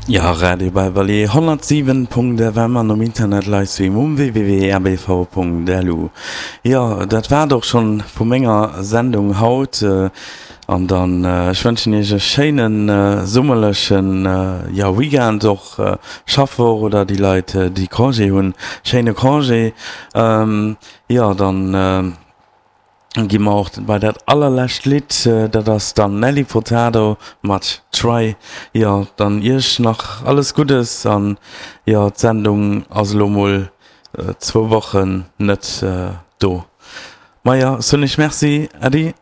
Jo, Radio Beverly 107.fm an um Internet Livestream um www.rbv.lu. Jo, dat war et och schonn vu menger Sendung haut. An dann, ech wënschen iech e schéinen summerlechen, jo, Weekend, och Schaffwoch oder déi Leit déi Congé hunn, schéine Congé. Jo, dann gi mer och bei dat allerlescht Lidd, dat ass dann Nelly Furtado mat Try. Jo, dann iech nach alles Guddes an jo, d'Sendung ass elo mol zwou Wochen net do. Maja, soen ech Merci, Äddi.